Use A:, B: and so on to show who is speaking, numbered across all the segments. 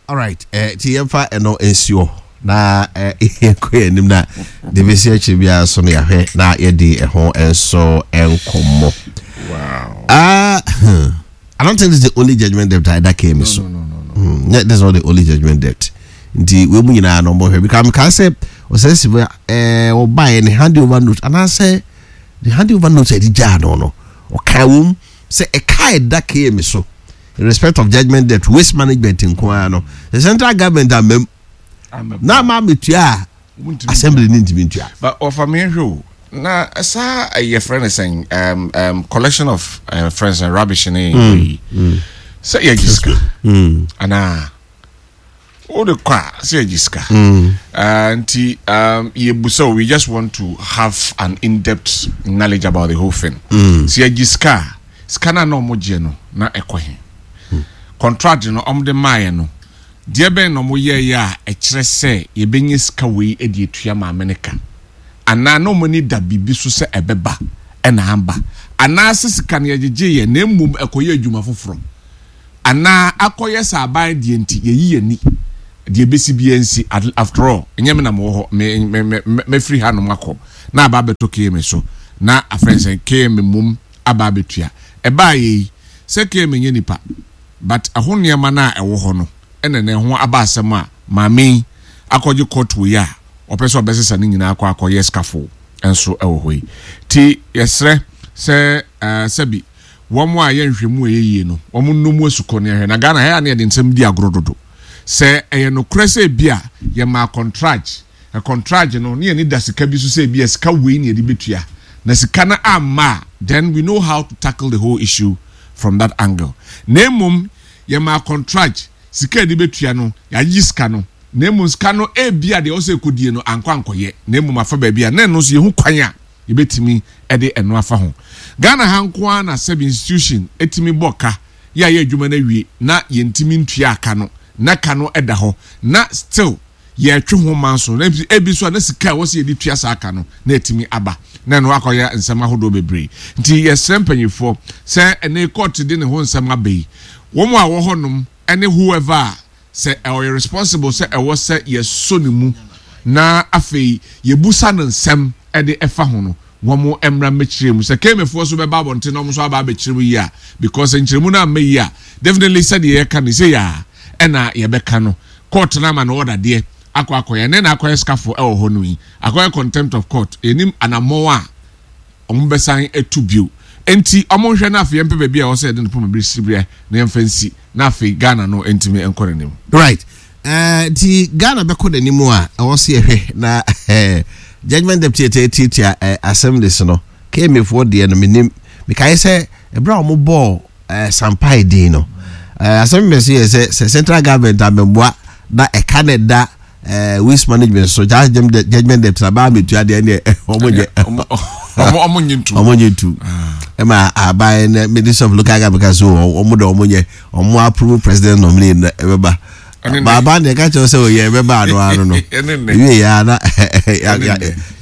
A: Alright, eh, ti yɛmfa ɛno nsi hɔ na eh, yɛnkɔ yɛn anim na de bɛsi akyiri biara so no yɛahwɛ na yɛdi ɛho nso nkɔmmɔ.
B: Wow.
A: I don't think this is the only judgment debt that came no, so.
B: No.
A: Yeah, this is not the only judgment debt. Nti wei mu nyinaa no ɔmɔhwɛ because mekaa sɛ ɔsɛ si eh, ɔbaeɛ ne hand over note anaasɛ the hand over note a ɛde gyaa no ɔkaa wom sɛ ɛka ɛda KM so in respect of judgment debt waste management nko ara no the central government amam na ama ametua a assembly ne ntumi ntua.
B: But ɔfa mi nhwɛ o na saa yɛ frɛ no sɛn um, um, collection of uh, friends and rubbish ne yi sɛ yɛgye sika anaa wode kɔ a sɛ yɛgye sika nti um, yɛbu we just want to have an in-depth knowledge about the whole thing. Sɛ yɛgye sika a, sika no a na ɔmo gyeɛ no na ɛkɔ he? Contract no ɔmo de maayɛ no, deɛ bɛn na ɔmo yɛɛyɛ a ɛkyerɛ sɛ yɛbɛnya sika wei de atua maame no ka? Anaa na ɔmo ani da biribi so sɛ ɛbɛba ɛna amba? Anaasɛ sika no yɛgyegyeeɛ na mmom ɛkɔyɛ adwuma foforɔ? Anaa akɔyɛ sɛ aban deɛ nti yɛyi yɛn ani, deɛ ɛbɛsi biara nsi, after all ɛnyɛ me na mewɔ hɔ, me, me, me, mɛfiri hanom akɔ na aba abɛtɔ KMA so, na afei sɛ KMA mmom aba abɛtua. Ɛbaeɛ yi, sɛ KMA nyɛ nipa, but ɛho nneɛma no a ɛwɔ hɔ no ɛna na ɛho aba asɛm a maame yi akɔgye court wei a ɔpɛ sɛ ɔbɛsesa ne nyinaa akɔ akɔyɛ scaffold nso ɛwɔ hɔ yi. Ti yɛsrɛ sɛ uh, sɛbi wɔn a yɛ nhwɛmu a ɛyɛ yie no, wɔn nnɔ mu asukɔ ne ahwɛ. Na Ghana ha yɛ a na yɛde nsɛm di agorɔ dodo. Sɛ ɛyɛ nokorɛ sɛ ebia yɛmaa kɔntragye, na kɔntragye no ne yɛn ani da sika bi so sɛ ebia sika wei na yɛde bɛtua, na sika no amma a, then we know how to tackle the whole issue from that angle. Na mmom yɛmaa kɔntragye, sika a yɛde bɛtua no, yɛagye sika no, na mmom sika no ebia deɛ ɛwɔ sɛ ɛkɔdie no ankɔ ankɔyɛ, na mmom afa baabi a, na ɛno nso yɛhu kwan a yɛbɛtumi de ɛno afa ho. Ghana ha nko ara na sɛbi institution tumi bɔ ka, yɛayɛ adwuma no awie na yɛntumi ntuaa ka no, na ka no da hɔ na still yɛretwe ho manso, na ebi nso a na sika a ɛwɔ sɛ yɛde tua saa ka no na atumi aba, na ɛno akɔyɛ nsɛm ahodoɔ bebree. Nti yɛsrɛ mpanimfoɔ sɛ ɛnɛ court de ne ho nsɛm aba yi, wɔn a wɔ hɔnom ne whoever a sɛ ɔyɛ responsible sɛ ɛwɔ sɛ yɛsɔ ne mu na afei yɛbusa no nsɛm de ɛfa ho no, wɔn mmra mmɛkyerɛ mu. Sɛ KMAfoɔ nso bɛba abɔnten na wɔn nso aba abɛkyerɛ mu yie a, because nkyerɛmu no amma yie a, definitely sɛdeɛ yɛka no sei ara ɛna yɛbɛka no. Court no ama no order deɛ akɔ akɔyɛ, ɛnɛ na akɔyɛ scaffold ɛwɔ hɔ no yi, akɔyɛ contempt of court, yɛnim anammɔn a wɔbɛsan atu bio. Enti wɔnhwɛ na afei yɛmpɛ baabi a ɛwɔ sɛ yɛde no poma bere siberɛ na yɛmfa nsi na afei Ghana no ntumi nkɔ n'anim.
A: Right. Eh, nti Ghana bɛkɔ n'anim a ɛwɔ sɛ yɛhwɛ na eh, judgment debt yɛtɛ tiatia eh, assemblies no KMA foɔ deɛ no menim mekae sɛ ɛberɛ a wɔbɔɔ eh, Sampai din no eh, asɛm bɛ so yɛ sɛ sɛ central government amɛmmoa na ɛka na ɛda eh, waste management so judgment debt na baa metua deɛ ɛneɛ ɔmo nyɛ
B: ɔmo nye ntu
A: ɔmo nye ntu ɛma aban na minister of local government ka so ɔmo de ɔmo nyɛ ɔmo approve president nominee na ɛbɛba baaba deɛ ɛka kyerɛ sɛ ɔyɛ ɛbɛba ano ano no ewie yɛ ana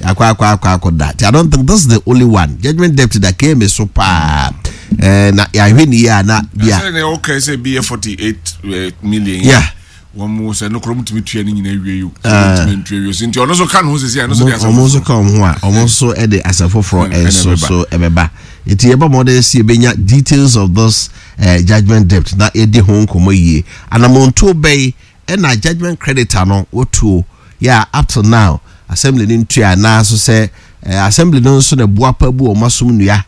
A: yakɔ akɔ akɔ akɔ da I don't think this is the only one judgment debt da km so paa ɛɛ na yɛahwɛ ne yie a na bia.
B: ɛsɛ ne ɔka sɛ bi yɛ 48 eh, million.
A: Yeah.
B: Wɔn mu sɛ nokoro mu tumi tua ne nyinaa wie yi o. Ah. Tumi ntua wie so nti ɔno nso ka ne ho sisi a ɛno nso de asɛm
A: foforɔ. Wɔn nso ka wɔn ho a wɔn nso de asɛm foforɔ nso so ɛbɛba nti yɛbɔ mmɔden si ebenya details of this uh, judgment debt na yɛdi ho nkɔmɔ yie anamontuo bɛyi ɛna judgment creditor no wɔtuo yɛ a up till now assembly no ntua anaa so sɛ uh, assembly no nso na buapa bu wɔn asom nnua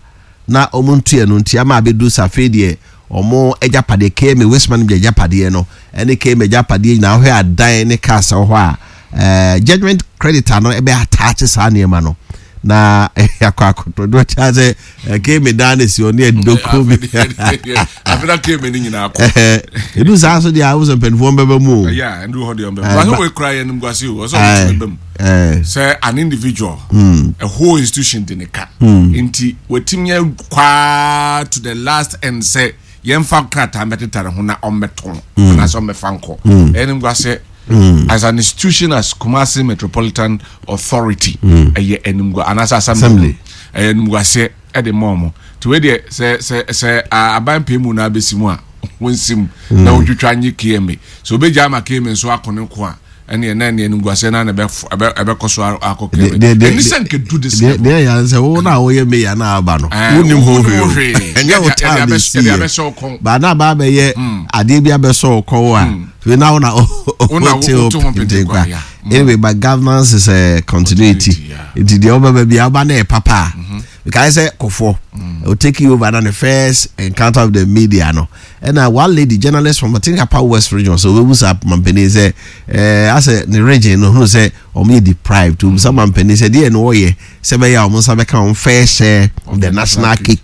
A: na wɔn ntua no nti ama abɛdu sɛ afei deɛ wɔn agyapadeɛ KMA waste management agyapadeɛ no ɛne KMA agyapadeɛ nyinaa wohwɛ adan ne cars wɔ hɔ a ɛɛ judgement creditor no ɛbɛ ataakye saa nneɛma no na akɔ akɔtɔ do kyɛ sɛ KMA dan na esi hɔ ne ɛdoko bi
B: afei na KMA ne nyinaa kɔ
A: edu saa so deɛ ahosuo mpanimfoɔ bɛbɛ mu o
B: ɛyɛ ɛndu hɔ deɛ ɔbɛba wɔn wɔ ekura yɛn nimguase o ɔsɛ ɔmo tumi bɛ mu sɛ an individual mm. a whole institution de ne ka mm. nti watumi kwaa to the last end sɛ yɛmfa krataa mmɛtetare ho na ɔmmɛtɔn mm. anaasɛ ɔmmɛfa nkɔ ɛyɛ ne nguasɛ as an institution as Kumasi Metropolitan Authority ɛyɛ animgua anaasɛ assembly ɛyɛ animguaseɛ ɛde mɔ ɔmo nti wei deɛ sɛ sɛ sɛ aban pɛ mu na abɛsi mu a. Wɔnsim na wɔntwitwa nye KMA. Sɛ obegya ama KMA nso ako ne ko a, ɛneɛ na ɛneɛ animguaseɛ no ara na ɛbɛkɔ so akɔ KMA. Ɛni sɛ nka du this level.
A: Deɛ yɛ sɛ wo na woyɛ mayor na aba no, wonim ho hwee. Ɛnyɛ wo time na ɛsi yɛ. Ba na aba abɛyɛ adeɛ bi abɛsɔ wo kɔn a, afei na wo na wote ho pentenkwa. Anyway, but governance is a continuity. Nti deɛ wobɛba bi aba na ɛyɛ papa a, mekae sɛ kɔfoɔ mm. take you over na the first encounter of the media no ɛna one lady journalist from I think Upper West region so obebu sa mampanin sɛ ɛɛ asɛ ne region no hunu sɛ wɔn yɛ deprived obu sa mampanin sɛ deɛ no wɔyɛ sɛ bɛyɛ a wɔn nsa bɛka wɔn fair share of the national cake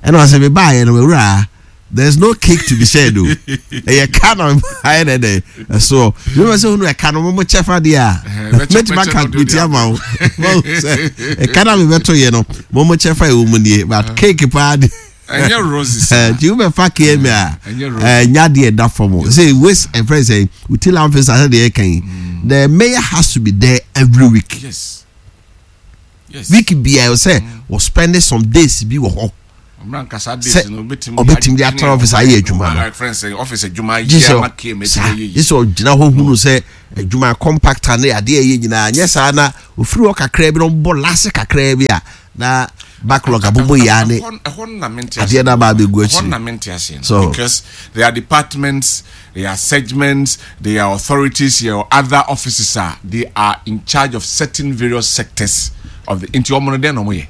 A: ɛna ɔsɛ mi baa yɛ no wura there is no cake to be shared o ɛyɛ ka na ayɛ dɛ dɛ ɛsoɔ yóò bɛ sɛ hunu ɛka no mo mo kyɛ fa deɛ a mɛtumi aka bìtì ama wo sɛ ɛka na mi bɛto yɛ no mo mo kyɛ fa ɛwɔ mu nie but cake paa de
B: ɛnyɛ roses
A: nti wo bɛ fa kma a ɛnya deɛ ɛda fam o sɛ waste ɛfrɛ sɛ uti landfill sɛ deɛ ɛka yi the mayor has to be there every week
B: yes yes
A: week biara sɛ wɔ spend some days bi wɔ hɔ. Sɛ ɔbɛtumi de atena office ayɛ adwuma no gye sɛ saa gye sɛ ɔgyina hɔ hunu sɛ adwuma compactor ne adeɛ ɛyɛ nyinaa nyɛ saa na ofiri hɔ kakraa bi na ɔbɔ lase kakraa bi a na backlog abobɔ yi ne adeɛ no aba abɛgu
B: akyiri so because there are departments there are segments there are authorities there are other offices a they are in charge of certain various sectors of the nti ɔmo no dɛn na ɔmo yɛ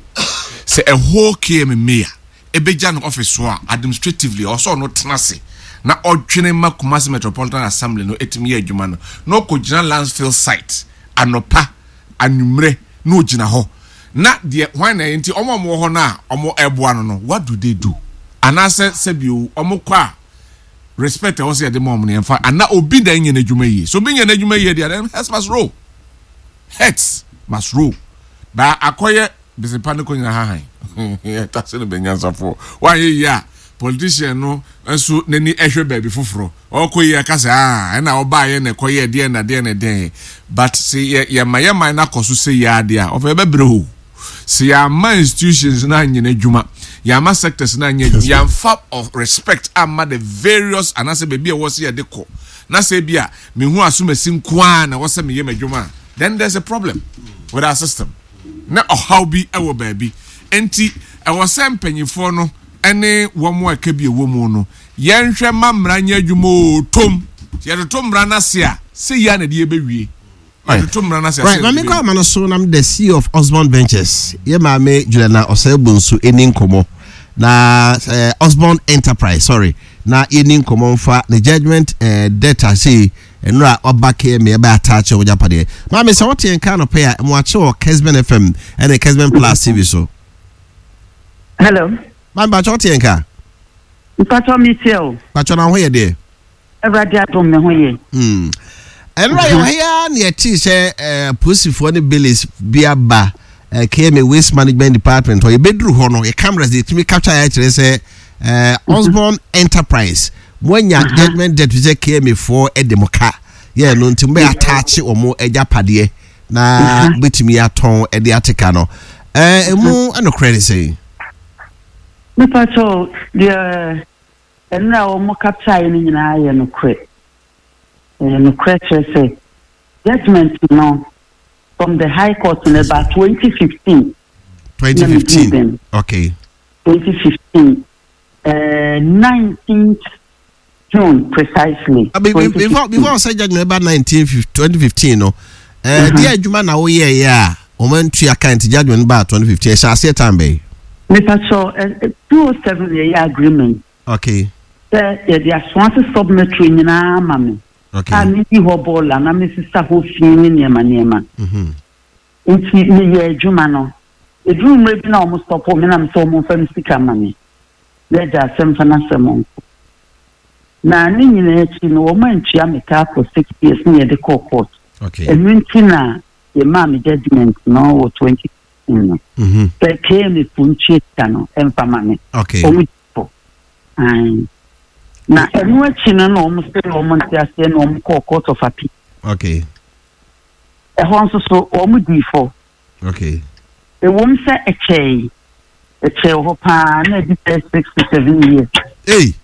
B: Sɛ ɛhɔ KM Mayor ɛbɛgya no office so a, administratively ɔwɔ sɛ ɔno tena ase na ɔdwene ma Kumasi Metropolitan Assembly no ɛtumi yɛ adwuma no, na ɔkɔgyina landfill site anɔpa, anwummerɛ na ɔgyina hɔ. Na deɛ hwan na ɛyɛ nti wɔn a wɔwɔ hɔ no a wɔn ɛboa no no, what do they do? Anaasɛ sɛbio wɔn kɔ a respect a ɛwɔ sɛ yɛde ma wɔn no yɛmfa, ana obi na ɛnyɛ n'adwuma yie? So obi nyɛ n'adwuma yie deɛ then heads must roll. Heads must roll. Ba akɔyɛ besepa ne kɔnyina hahan. Yɛtase no bɛnyansafoɔ. Woanyɛ yie a, politician no nso n'ani hwɛ baabi foforɔ. Ɔkɔ yie aka sɛ ah ɛna ɔbaayɛ na ɛkɔyɛ deɛn na deɛn na deɛn. But sɛ yɛ yɛma yɛ man no akɔ so sɛ yie ara deɛ a, ɔfɛ yɛbɛbrɛ o. Sɛ yɛamma institutions no anyɛ n'adwuma, yɛamma sectors no anyɛ adwuma, yɛamfa of respect amma the various anaasɛ baabi a ɛwɔ sɛ yɛde kɔ na sɛ ebi a mehu asomasi nko ara na ɛwɔ sɛ meyɛ m'adwuma a, then there's a problem with our system. Na ɔhaw bi wɔ baabi. Enti ɛwɔ sɛ mpanyinfoɔ no ne wɔn a ɛka bi ɛwɔ mu no yɛnhwɛ ma mmara nyɛ adwuma oo tom. Sɛ yɛtoto mmara no ase a, sɛ yia na ɛde yɛbɛwie. Yɛtoto mmara no ase a,
A: Right,
B: sɛ yɛde
A: maame kɔ
B: yɛbɛwie.
A: ama no so nam the CEO of Osborn Ventures. Yɛ maame Juliana Osei-Bonsu ɛni nkɔmɔ na eh, Osborn Enterprise, sorry, na yɛni nkɔmɔ nfa ne judgement eh, debt ase Nnora ɔba KMA ɛbɛ attach wɔn agyapadeɛ. Maame sɛ wote yɛn nka anɔpa yi a, mo akye wɔ Kesben FM ɛne Kesben Plus TV so.
C: Hello.
A: Maame bakyɛ wote yɛn nka?
C: Mpakyɛ mi tie o.
A: Bakyɛ na ho yɛ deɛ?
C: Awurade adom me ho yɛ.
A: Hmm. Ɛnora yɛ wɔ ha yi ara na yɛtee sɛ eh, apolisifoɔ ne bailiffs bi aba eh, KMA Waste Management Department hɔ. Yɛbɛduru hɔ no, yɛ cameras de yɛtumi capture yɛ kyerɛ sɛ eh, Osborn Enterprise moanya judgment debt sɛ KMA foɔ de mo ka yɛ no nti mobɛyɛ ataakye wɔn agyapadeɛ na mobɛtumi atɔn de ate ka no eh, ɛmu nokorɛ ne sɛn?
C: Mepa kyɛw deɛ ɛnora wɔn capture no nyinaa yɛ nokorɛ. Ɛyɛ nokorɛ kyerɛ sɛ judgment no from the high court no ɛbaa 2015.
A: 2015 okay.
C: 2015 19th June precisely.
A: Ah, before before ɔsɛ judgment ɛba 19 2015 no ɛɛ deɛ adwuma na woyɛ yɛ a wɔn antua kan ti judgment ba 2015 ɛhyɛ aseɛ time bɛyi.
C: Nipa sɔ 207 yɛ yɛ agreement.
A: Okay.
C: Sɛ yɛde asoase sub metro nyinaa ma me.
A: Okay.
C: A mi yi hɔ bɔɔla na mi sisa hɔ fi ne nneɛma nneɛma. Nti meyɛ adwuma no. Ɛduruu mmerɛ bi na wɔn stɔpoo me na me sɛ wɔn mfa me sika ma me na agya asɛm fa n'asɛm nko. Na ne nyinaa akyi no wɔn antua me ka for 6 years na yɛde kɔɔ court. Ɛno nti na yɛmaa me judgement no wɔ 2015 no. Sɛ KMA fo ntua sika no ɛmfa ma me. Wɔn fo. Ae. Na ɛno akyi no na wɔn sɛ wɔn nte aseɛ na wɔn kɔɔ court of appeal. Ɛhɔ nso so wɔn dii fɔ.
A: Okay.
C: Ɛwom sɛ ɛkyɛe, ɛkyɛe wɔ hɔ paa, na ɛdi bɛyɛ 6 to 7 years.
A: Hey,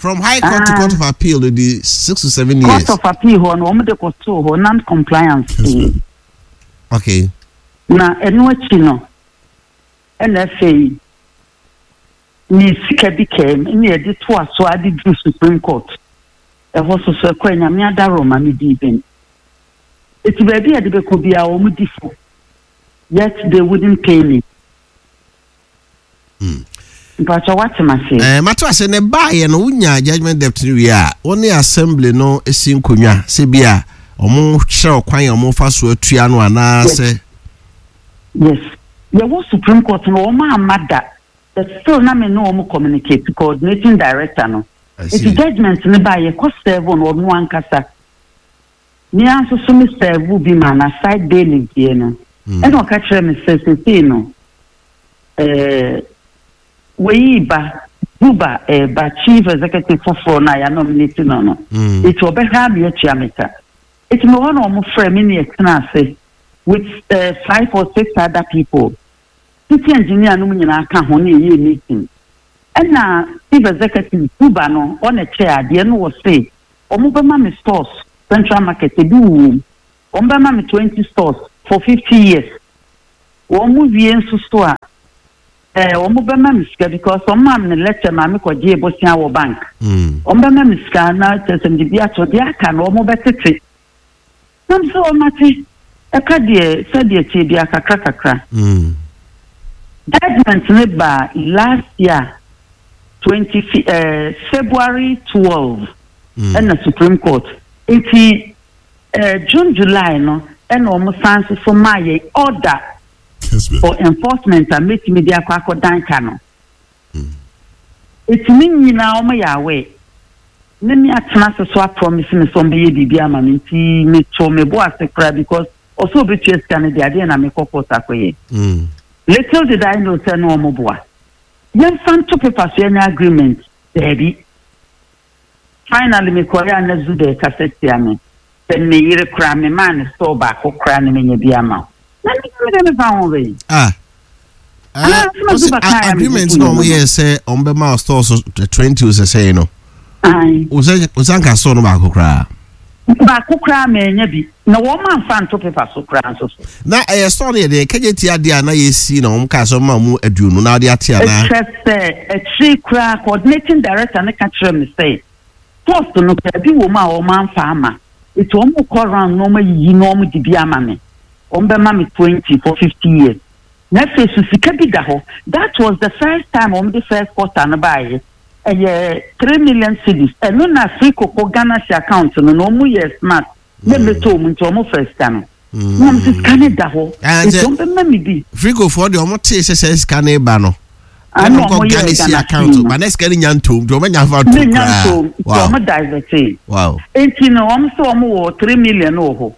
A: From High Court to Court of Appeal de 6 to 7 years.
C: Court of Appeal hɔ no, wɔn de kɔtoo hɔ non compliance. Na ɛno akyi no, ɛna afei ne sika bi kɛm ne yɛde to aso ade duru Supreme Court. Ɛhɔ so so ɛkɔ Nyame adaro ma me dii bɛn. Eti baabi a yɛde bɛkɔ biara, wɔn di fo, yet they wouldn't pay me. Mpatsɔ, wate ma se?
A: Ɛɛ, mato ase. Ne baayɛ no, wonya judgement debt no wie a, wo ne assembly no si nkonnwa sɛ bi a ɔmo kyerɛ ɔkwan a ɔmo fa so atua no anaasɛ?
C: Yes, yɛwɔ Supreme Court no, wɔn amma da, but still na me ne wɔn communicate, coordinating director no. Eti judgement no ba, yɛkɔ serve no, ɔno ankasa me ara nso so me serve bi ma na side bailiff deɛ no. Ɛna ɔka kyerɛ me sɛ sesei no wɔyi ba Buba ɛɛba, chief executive foforɔ no a yɛa nominate no. Eti ɔbɛhwɛ ame atua me ka. Eti me hɔ na wɔn frɛ me ne yɛtena ase with five or six other people, city engineer no mu nyinaa ka ho, ne yɛyɛ meeting. Ɛna chief executive Buba no, ɔna kyɛ adeɛ no, wɔ se wɔn bɛma me stores, Central Market ebi wɔ mu, wɔn bɛma me 20 stores for 50 years. Wɔn mu wie nso so a, wɔn bɛma me sika, because wɔn maa me letter maa me kɔ gye bosia wɔ bank. Wɔn bɛma me sika na kyerɛ sɛ mede bi ato deɛ aka no, wɔn bɛtete nam sɛ wɔn ate ɛka deɛ sɛdeɛ tie bi akakra kakra. Judgement ne ba last year 20 February 12 ɛna Supreme Court. Nti June, July no, ɛna wɔn san so so maa yɛn order for enforcement a mɛtumi de akɔ akɔdan ka no. Etumi nyinaa wɔn yɛ awɛ ne me atena ase so a promise me sɛ wɔn bɛyɛ biribi ama me, nti meto me bo ase koraa because ɔsɛ obetua sika no de adeɛ na mekɔ court akɔyɛ. Little did I know sɛ no wɔn boa yɛmfa nto paper so, yɛnyɛ agreement daabi. Finally mekɔyɛ a, na Zuba kasa tia me sɛ me yere koraa me maa ne store baako koraa ne menya bi ama wo na me de mefa ho bɛyi.
A: Ah. Agreement na ɔmo yɛ sɛ ɔmo bɛ ma store so 20 o sɛ sɛn no, o sɛ nka store no baako koraa.
C: Baako koraa mɛnya bi na wɔn amfa nto paper so koraa nso so.
A: Na ɛyɛ store no yɛ deɛ kɛgye ti adeɛ a na yɛsi na wɔn kaa sɛ ɔmo ma ɔmo 20 na ɔde ate anaa?
C: Ɛkyerɛ sɛ akyire koraa coordinating director ne ka kyerɛ me sɛ post no baabi wɔ mu a wɔn amfa ama, eti wɔn kɔ round na wɔn ayiyi na wɔn de bi ama me. Wɔn bɛma me 20 for 50 years. Na afei so sika bi da hɔ. That was the first time wɔn de first quarter no baayɛ, ɛyɛ 3 million cedis. Ɛno na free koko Ghana si account no na wɔn yɛ smart ne mmeto wɔn, nti wɔn fɛ sika no na wɔn sɛ sika no da hɔ, nti wɔn bɛma mi bi.
A: Frikofoɔ deɛ, ɔmo tee sɛ sɛ sika no ba no, ɛna ɔmo kɔ Ghana si account ba na sika no nya ntom, nti ɔmo nya fa
C: ntom koraa. Ntom, nti ɔmo divert. Nti no wɔn sɛ wɔn wɔ 3 million wɔ hɔ.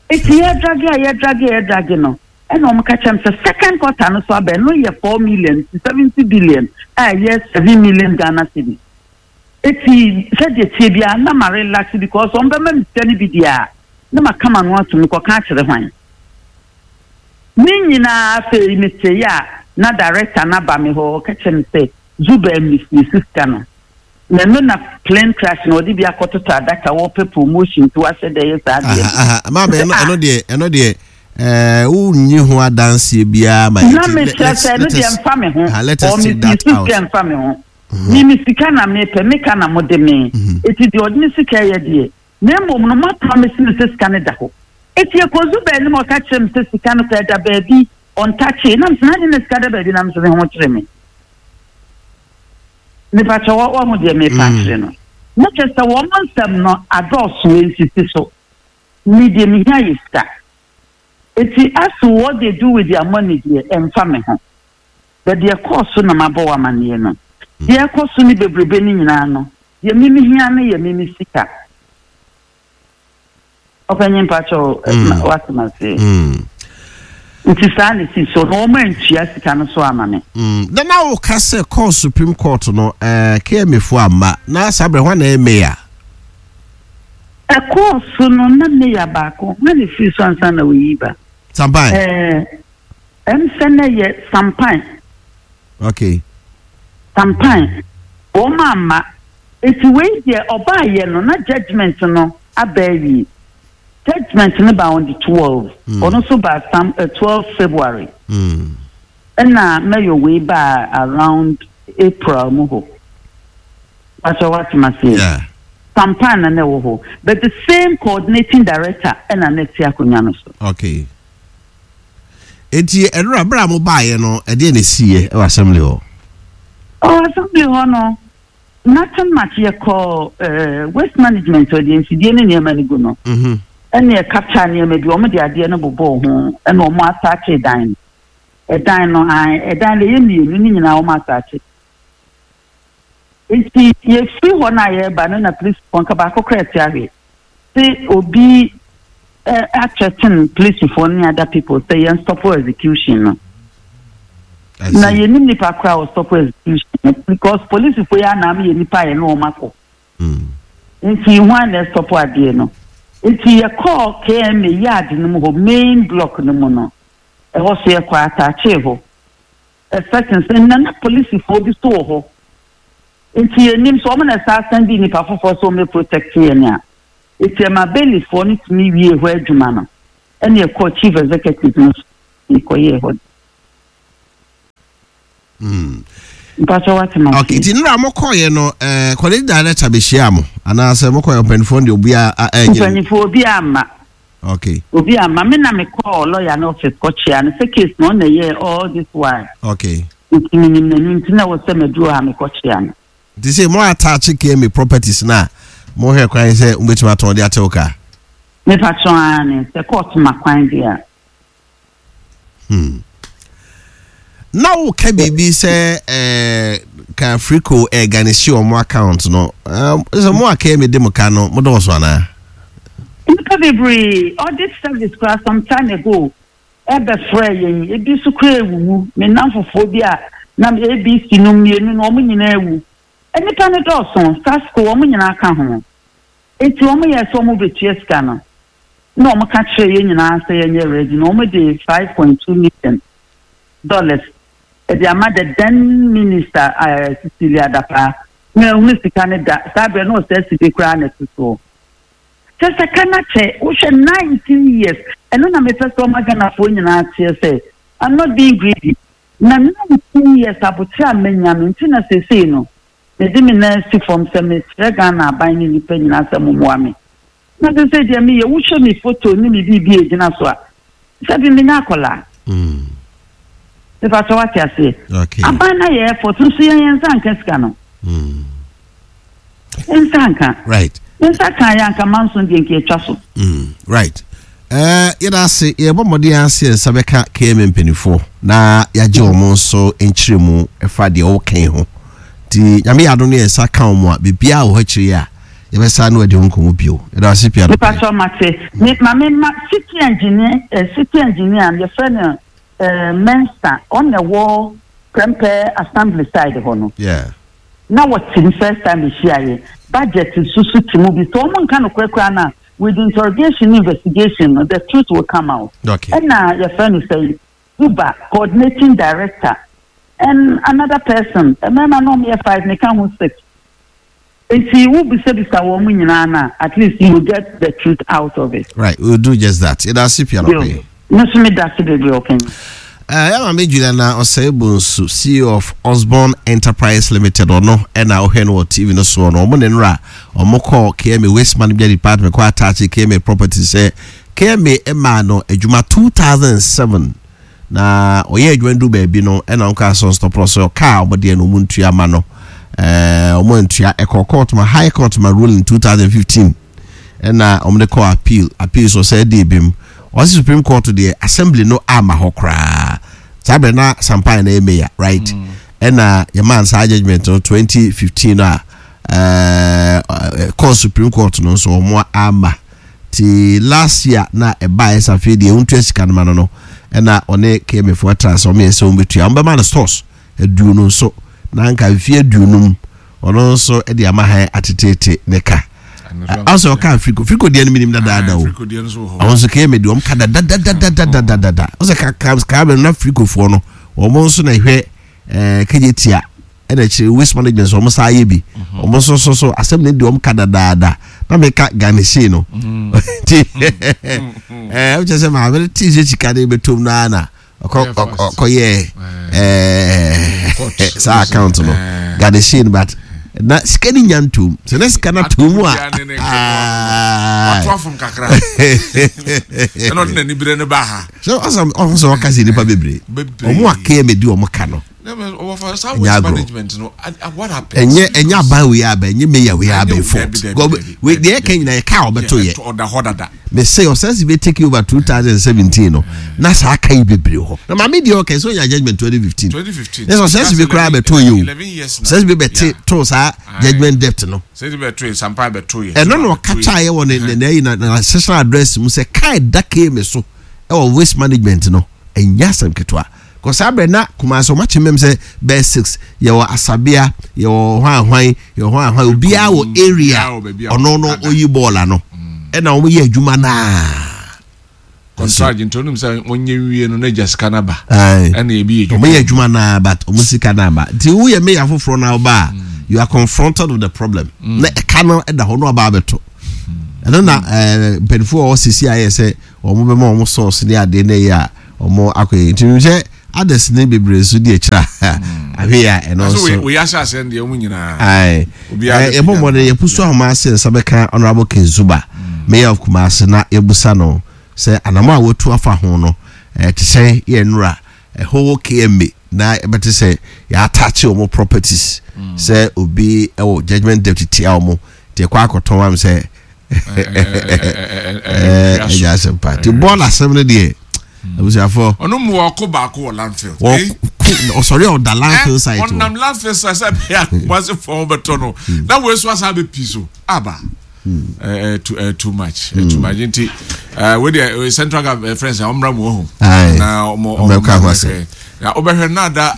C: Eti yɛ drag a yɛ drag a yɛ drag no, ɛna wɔn ka kyerɛ m sɛ second quarter no so aba, ɛno yɛ 4 million to 70 billion a ɛyɛ 7 million Ghana cedis. Eti sɛdeɛ tie biara na ma relax because wɔn bɛma mi sika no bi deɛ a na ma kama no ato mi kɔka akyerɛ hwan ne nyinaa. Afei mi te yɛ a, na director na ba mi hɔ, ɔka kyerɛ mi sɛ Zuba mi si sika no na ɛno na plane crash na ɔde bi akɔtoto adaka, wɔpɛ promotion nti wahyɛ dɛ yɛ saa
A: adeɛ. Maame, ɛno deɛ wonnyi ho adanseɛ biara ma.
C: Na mekyerɛ sɛ ɛno deɛ mfa me ho, ɔ me si sika mfa me ho. Mi mi sika na mepɛ, meka na mo de me. Eti deɛ ɔde ne sika yɛ deɛ, na mmom no mo promise me sɛ sika no da hɔ. Eti ekozu baabi ma ɔka kyerɛ me sɛ sika no kɔ ɛda baabi ɔntakye, na mesɛ na ade na sika da baabi na mesɛ me ho kyerɛ me. Nipa kyɛ wɔ wɔn deɛ mepa akyerɛ no. Na kyerɛ sɛ wɔn nsɛm no adɔɔso nsisi so. Me deɛ mehia yɛ sika. Eti as to what they do with their money deɛ, ɛmfa me ho. But deɛ ɛkɔɔ so na mabɔ wɔ amanneɛ no. Deɛ ɛkɔ so ne bebrebe no nyinaa no, deɛ me mehia no yɛ me me sika. Ɔpanyin, mpakyɛw, wasɛm ase. Nti saa na esi so na wɔn antua sika no so ama me.
A: Na na woka sɛ kɔɔ Supreme Court no, KMA fo amma na saa berɛ hɔ na ɛyɛ mayor.
C: Ɛkɔɔ so no na mayor baako hɔ na efiri so ansa na oyi ba.
A: Sampan.
C: Ɛm sɛ na yɛ Sampan. Sampan wɔn amma. Nti wei deɛ ɔbaayɛ no na judgement no aba awie. Judgement no baa on the 12. Ɔno nso baa some 12 February. Ɛna Mayor wei baa around April mu hɔ. Pastor wate ma seɛ.
A: Yeah.
C: Sampan na na ɛwɔ hɔ. But the same coordinating director ɛna na ɛte akonnwa no so.
A: Okay. Enti ɛnora berɛ a mobaeɛ no ɛdeɛ na ɛsiiɛ ɛwɔ assembly hɔ?
C: Oh, assembly hɔ no, nothing much. Yɛkɔ waste management ɔde mfidie ne nneɛma no gu no. Ɛne ɛkata nneɛma bi, wɔn de adeɛ no bobɔɔ ho, ɛna wɔn asaakye dan no. Ɛdan no, ɛdan no ɛyɛ mmienu, ne nyinaa wɔn asaakye. Nti yɛfiri hɔ no a yɛreba no na polisifoɔ nka baako koraa ɛte ahwe. Sɛ obi athreaten polisifoɔ ne other people sɛ yɛn stop execution no. Na yɛnim nipa koraa wɔ stop execution no because polisifoɔ yi anam yɛ nipa yɛ ne wɔn akɔ. Nti hwan na ɛstop adeɛ no? Nti yɛkɔɔ KMA yard no mu hɔ, main block no mu no, ɛhɔ so yɛkɔ ataakyee hɔ. Expecting sɛ na na polisifoɔ bi so wɔ hɔ. Nti yɛnim sɛ wɔn na ɛsan san di nipa foforɔ sɛ wɔn bɛ protect yɛn a. Nti ɛma bailifoɔ no tumi wie hɔ adwuma no, ɛna ɛkɔɔ chief executive no so kɔyɛɛ hɔ. Mpatsɔ wate ma
A: Okay, nti nnura mo kɔɔyɛ no, kɔde director bɛhyia mo anaasɛ mo kɔɔyɛ mpanyinfoɔ deɛ obi a ɛnyɛ.
C: Mpanyinfoɔ obi ama.
A: Okay.
C: Obi ama me na me kɔɔ lawyer no office kɔkyea no sɛ case no ɔna yɛ all this while.
A: Okay.
C: Nti menim n'anim nti na wɔ sɛ maduru ha mekɔkyea no.
A: Nti sɛ mo attach KMA properties na mo hwɛ kwan sɛ mo bɛtumi atɔn de atew ka.
C: Mepatwɔn ara ne sɛ court ma kwan de a.
A: Na woka biribi sɛ ka Frico ɛganisi wɔn account no, sɛ mo a KMA de mo ka no mo dɔɔso anaa?
C: Nnipa bebree, audit service koraa some time ago ɛbɛfrɛɛ yɛn, ebi nso koraa awuwu, me nnamfofoɔ bi a na ABC no mmienu no wɔn nyinaa awu. Nnipa no dɔɔso, SASCO wɔn nyinaa ka ho. Enti wɔn yɛɛ sɛ wɔn bɛtua sika no, na wɔn ka kyerɛɛ yɛn nyinaa sɛ yɛnyɛ ready na wɔn de $5.2 million ɛde ama the then minister Cecilia Dapaah. Na ehunu sika no da, saa berɛ na ɔsɛ sidi koraa na ɛto soɔ. Kyɛ sɛ ka na kyɛ, wohwɛ 19 years, ɛno na mepɛ sɛ ɔma Ghanafoɔ nyinaa teɛ sɛ I'm not being greedy. Na 19 years abokyerɛ a manya no nti na seesei no mede me nan asi fam sɛ mesrɛ Ghana aban ne nnipa nyinaa sɛ mommoa me. Na seesei deɛ meyɛ, wohwɛ me photo ne me biribi a ɛgyina so a, sɛbi menyɛ akwadaa. Mepa kyɛ wate aseɛ.
A: Okay.
C: Aban na yɛ effort nso yɛn yɛn nsa nka sika no. Nsa nka.
A: Right.
C: Nsa kan yɛ anka manso deɛ nka atwa so.
A: Right. Yɛda ase, yɛbɔ mmɔden ase yɛn nsa bɛka KMA mpanimfoɔ na yɛagye wɔn nso nkyerɛmu ɛfa deɛ wɔka ho. Nti Nyame yɛ adom no yɛn nsa ka wɔn a, biribiara wɔ hɔ akyire yi a yɛbɛsa no adi ho nkɔmmɔ bio. Yɛda ase pii anɔpa yi.
C: Mepakyɛw mate. Me ma me ma city engineer city engineer yɛfrɛ no Mensah, ɔno na ɛwɔ Prempeh Assembly side hɔ no.
A: Yeah.
C: Na wɔte mu first time mehyia yɛ. Budget nso so te mu bi. Sɛ wɔn nka nokorɛ koraa no a, with interrogation ne investigation no, the truth will come out.
A: Okay.
C: Ɛna yɛfrɛ no sɛ Uber coordinating director and another person. Mmarima no wɔn yɛ five, meka ho six. Nti wo bisabisa wɔn nyinaa na at least you will get the truth out of it.
A: Right, we will do just that. Yɛda ase pii anɔpa yi.
C: Me nso meda ase bebree ɔpanyin.
A: Yɛ maame Juliana Osei Bonsu, CEO of Osborne Enterprise Limited, ɔno ɛna ɔhwɛ no wɔ TV no soɔ no, ɔmo ne nnora ɔmo kɔɔ KMA Waste Management Department kɔ attach KMA property sɛ KMA ɛmaa no adwuma 2007 na ɔyɛ adwuma no du baabi no ɛna ɔmo kaa sɛ ɔnstɔpɔ sɛ ɔkaa ɔmo deɛ no ɔmo ntua ma no, ɔmo ntua, ɛkɔɔ court ma High Court ma ruling 2015 ɛna ɔmo de kɔɔ appeal, appeal so sɛ ɛde ebim ɔsi Supreme Court deɛ assembly no ama hɔ koraa saa bɛrɛ na Sampan na ɛyɛ mayor, right? Ɛna yɛmaa saa judgement no 2015 a kɔɔ Supreme Court no nso ɔmo ama ti last year na ɛbaa ɛsɛ afei deɛ ntua sika no ma no no ɛna ɔne KMA foɔ atra sɛ ɔmo yɛ sɛ ɔmo bɛtua, ɔmo bɛma no stores 20 nso na nka mfie 50 ɔno nso de ama han atetete ne ka. Ɔsɛ ɔka Afriko Afriko deɛ no minim dadaada o, ɔmo nso KMA deɛ ɔmo ka dadadadadadada, ɔsɛ ka ka kaa bɛ no na Afrikofoɔ no ɔmo nso na ɛhwɛ kegye tia. Ɛna akyire waste management nso wɔn san ayɛ bi. Wɔn nso so so asɛm no di wɔn ka dadaada. Na meka garnishee no. Nti ɛɛ wokyɛ sɛ maame no tee sɛ sika no bɛtom no ara na ɔkɔ ɔkɔyɛɛ ɛɛ saa account no garnishee no but na sika no nya ntom sɛ na sika no atom mu a
B: wato afom kakra ɛna ɔde n'ani berɛ no ba ha
A: sɛ ɔsɛ ɔho sɛ ɔka sɛ nnipa bebree ɔmo akɛɛ mɛdi ɔmo ka no
B: Ɛnyɛ
A: agorɔ. Ɛnyɛ ɛnyɛ aban wei aba ɛnyɛ mayor wei aba fault. Wei deɛ ɛka nyinaa yɛ kaa ɔbɛto yɛ. Me se ɔsan si bɛ take over 2017 no na saa aka yi bebree hɔ. Na maame deɛ ɔka sɛ ɔnya judgement 2015. Ne sɛ ɔsan si bi koraa bɛto yɛ o. Ɔsan si bi bɛte to saa judgement debt no. Ɛno na ɔka kyaeɛ wɔ ne ne ne na na session address mu sɛ kaa ɛda KMA so ɛwɔ waste management no ɛnyɛ asɛm ketewa. Kɔ saa berɛ na Kumasi wɔn akyɛ mɛm sɛ bɛyɛ six yɛwɔ Asabea yɛwɔ hwan hwan yɛwɔ hwan hwan obiara wɔ area ɔno no oyi bɔɔl ano ɛna wɔn yɛ adwuma naa.
B: Contract nti onim sɛ wɔn nyɛ nwie no na gya sika na ba. Ɛna ebi yɛ
A: adwuma. Wɔn yɛ adwuma naa but wɔn sika naa ba nti woyɛ meya foforɔ na ɔba a you are confronted with the problem na ɛka no ɛda hɔ na ɔba abɛto ɛno na ɛɛ mpanyinfoɔ a wɔsisi ayɛ sɛ wɔn bɛma wɔn sɔɔso ne adeɛ na ɛyɛ a. Ɔmo akɔ yɛ nti menim sɛ others ne bebree nso di akyire a ahwɛ yi a ɛno nso.
B: Wei ahyɛ aseɛ no deɛ ɔmo nyinaa.
A: Ae yɛbɔ mmɔden yɛpusu ahoma ase nsa bɛka Honourable Ken Zuba Mayor of Kumasi na yɛbusa no sɛ anamɔ a watu afa ho no ɛte sɛn yɛ nnura ɛhɔ KMA na ɛbɛte sɛ yɛataakye wɔn properties sɛ obi ɛwɔ judgement debt tia wɔn nti ɛkɔ akɔtɔn am sɛ ɛnyɛ asɛm pa nti bɔɔl asɛm no deɛ abusuafoɔ.
B: Ɔno mu ɔko baako wɔ landfill.
A: Ɔsɔre a ɔda landfill site.
B: Ɔnam landfill site sɛ bɛyɛ akumase fɔm bɛtɔ no na wei so asa abɛ pii so aba. Too too much too much nti wei deɛ central government friends a ɔmra mu ɔho. Na ɔmo ɔmo ɔmo na ɔbɛhwɛ na ada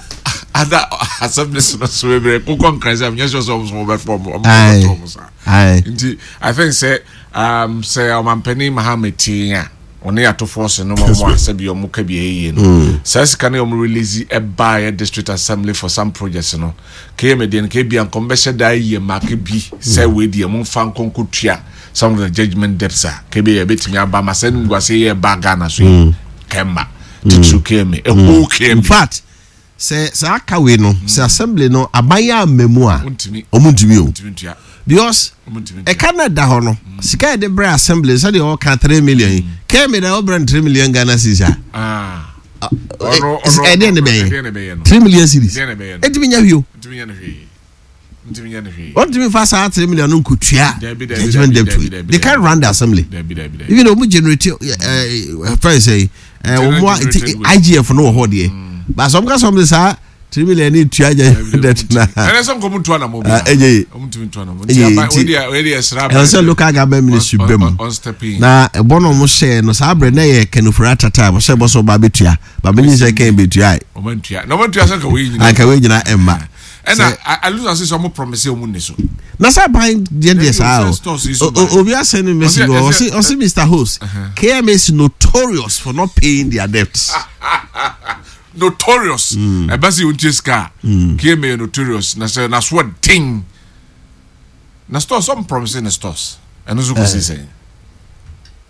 B: ada asɛm ne so no so bebree kokɔ nkran sɛ nyɛ sɛ ɔmo so ɔmo bɛfɔ ɔmo ɔmo bɛtɔ ɔmo saa. Nti I think sɛ um, sɛ ɔmampanin Mahama tee a ɔne atofoɔ se no wɔn a sɛbi wɔn ka bi ɛyɛ yie no mm. saa sika no wɔn release ɛbaeɛ district assembly for some projects no kma deɛ no kebia nkɔm bɛhyɛ daa yie mmaake bi sɛ mm. wei deɛ mo nfa nkɔnkɔ tua some of the judgement debts a kebia yɛbɛtumi aba ma sɛ nimguase yɛ ba Ghana so yi mm. kɛmma titiri kma ɛhoo kma.
A: In fact Sɛ saa ka wei no, sɛ assembly no aban yɛ amma mu a, wɔn ntumi o. Because ɛka na ɛda hɔ no, sika yɛde brɛ assembly sɛdeɛ ɔka three million yi, kɛmi na ɔbrɛ no three million Ghana cedis a. Ɛdeɛ ne bɛyɛ 3 million cedis. Ɛntumi nya hwee o. Wɔntumi nfa saa 3 million no nkotua judgement debt yi. They can't run the assembly. Even though wɔn generate ɛɛ fɛn sɛ ɛɛ wɔn a ti IGF no wɔ hɔ deɛ. Baasa wɔn kasa wɔn de saa 3 million ni tua judgement debt na.
B: Ɛnɛ sɛ nkɔmu ntua na mo bi.
A: Ɛyɛ ye. Ɛyɛ ye ti ɛwɔ sɛ local government ministry bɛ mu na ɛbɔ na wɔn hyɛ no saa abirɛ na yɛ kɛnɛfura tata wɔn hyɛ bɔ sɛ ɔba abɛtua ba bɛ nyi sɛ kɛn bɛtua yi.
B: Wɔn ntua na wɔn ntua sɛ nka wei nyina.
A: Nka wei nyina ɛmma.
B: Ɛna alusa sɛ ɔmo promise ɔmo nni so.
A: Na sɛ aban deɛ deɛ saa o. Obi asɛn ne message wɔ ɔsi ɔsi Mr Host KMA is notorious for not paying their debts.
B: Notorious. Ɛbɛ sɛ yɛn sika a KMA yɛ notorious na sɛ na so den. Na stores ɔmo promise ne stores ɛno nso kò si sɛn.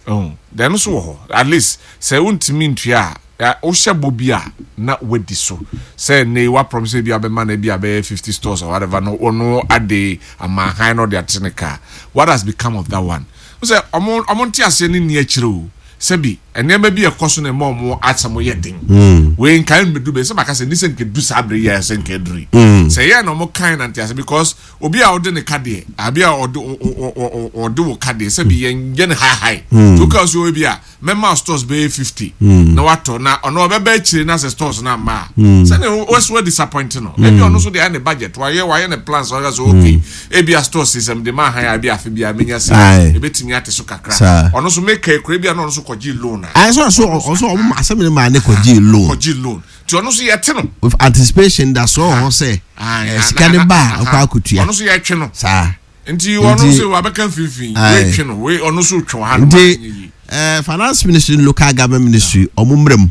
B: Oh, ɛno nso wɔ hɔ at least sɛ wontumi ntua a. Wohyɛ bɔ bi a na wadi so. Sɛ nnɛ yi woapromise ebi a wobɛma no ebi a bɛyɛ 50 stores or whatever no ɔno ade ama han na ɔde ate ne car. What has become of that one? Wo sɛ ɔmo ɔmo nteaseɛ no nni akyire o. Sɛbi nneɛma bi a ɛkɔ so na ɛma ɔmo asɛm yɛ den. Wei nka mmedu bɛ sɛ maka sɛ ni sɛ nka du saa bere yi a sɛ nka aduru yi. Sɛ yɛ na ɔmo kan na nteaseɛ because obi a ɔde ne ka deɛ abi a ɔde ɔde wo ka deɛ sɛbi yɛn yɛ ne high high. To ka so ebi a mɛma stores bɛyɛ 50 mm. na watɔ na ɔno ɔbɛba akyire na sɛ stores no amma a mm. sɛne wɔso wa disappoint no mm. ebi ɔno nso deɛ ayɛ ne budget wayɛ wayɛ ne plans ɔyɛ sɛ okay mm. ebi a stores sɛ mede ma ahan a ebi afe biara menya sɛ ebetumi ate so kakra ɔno nso meka ekura ebi a na ɔno nso kɔgye loan a.
A: ayɛ sɛ ɔso ɔso ɔmo asɛm ne maa ne kɔgye loan.
B: Kɔgye loan ti ɔno nso yɛte no.
A: With anticipation da so ɔwɔ hɔ sɛ sika ne ba a ɔkɔ akɔtua.
B: Ɔno nso yɛtwe no.
A: Saa.
B: Nti ɔno nso wabɛka mfimfini wei twe no wei ɔno nso twe ha no
A: nti eh, finance ministry local government ministry ɔmo mmerɛ mu.